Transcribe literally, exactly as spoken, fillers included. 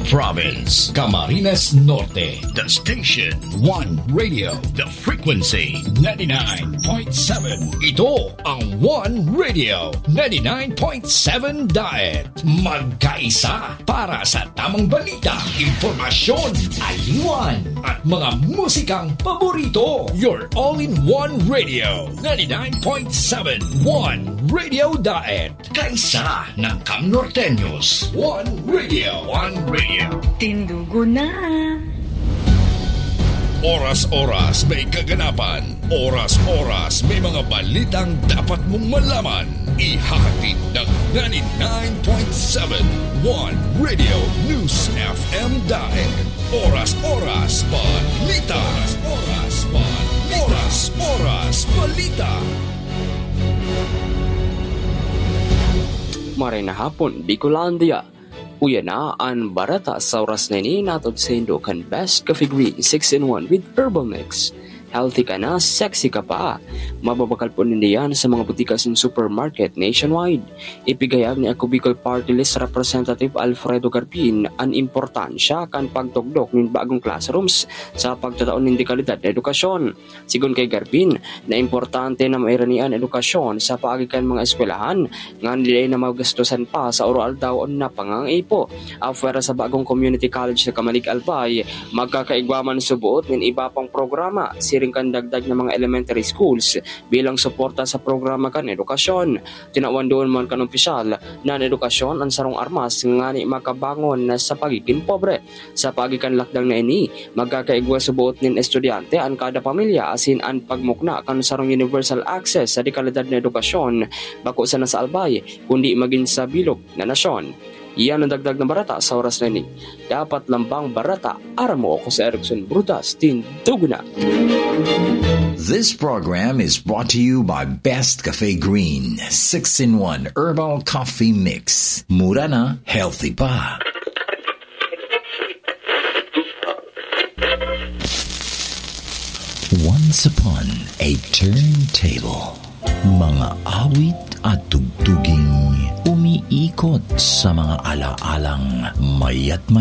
Province, Camarines Norte. The station, One Radio. The frequency, ninety-nine point seven. Ito ang One Radio, ninety-nine point seven Diet. Magkaisa para sa tamang balita, impormasyon, aliwan, at mga musikang paborito. Your all-in-one radio, ninety-nine point seven One Radio Diet. Kaisa ng Cam Norteños. One Radio. One Radio. Tindugo na. Oras-oras may kaganapan. Oras-oras may mga balitang dapat mong malaman. Ihahatid ng ninety-nine point seven One Radio News F M Daet. Oras-oras balita. Oras-oras balita. Oras-oras balita. Maray na hapon, Bicolandia. Uya na an barata sa oras na ini, natod saindo kan Best Coffee Green six-in-one with Herbal Mix. Healthy ka na, sexy ka pa. Mababakal po ninda yan sa mga butika asin supermarket nationwide. Ipigayag ni Ako Bicol Party List Representative Alfredo Garbin an importansya kan pagtugdok nin bagong classrooms sa pagtatao nin dekalidad na edukasyon. Sigon kay Garbin, na importante na mairani an edukasyon sa paagi kan mga eskwelahan, ngani dai na magastosan pa sa oro-aldaw na pangangaipo. Apwera sa bagong community college sa Camalig, Albay, magkakaigwa man suboot nin iba pang programa, siring kan dagdag na mga elementary schools bilang suporta sa programa kan edukasyon. Tinawan duon man kan opisyal na an edukasyon an sarong armas ngani makabangon na sa pagigin pobre. Sa paagi kan lakdang na ini, magkakaigwa suboot nin estudyante an kada pamilya asin an pagmukna kan sarong universal access sa dekalidad na edukasyon, bako sana sa Albay, kundi magin sa bilog na nasyon. Iyan an dagdag na barata sa oras na ini. Dapat lambang barata, aram mo ako sa Erickson Brudas, tindugo na. This program is brought to you by Best Cafe Green, six-in-one Herbal Coffee Mix. Mura na, healthy pa. Once upon a turntable. Mga awit at tugtuging umiikot sa mga alaalang mayat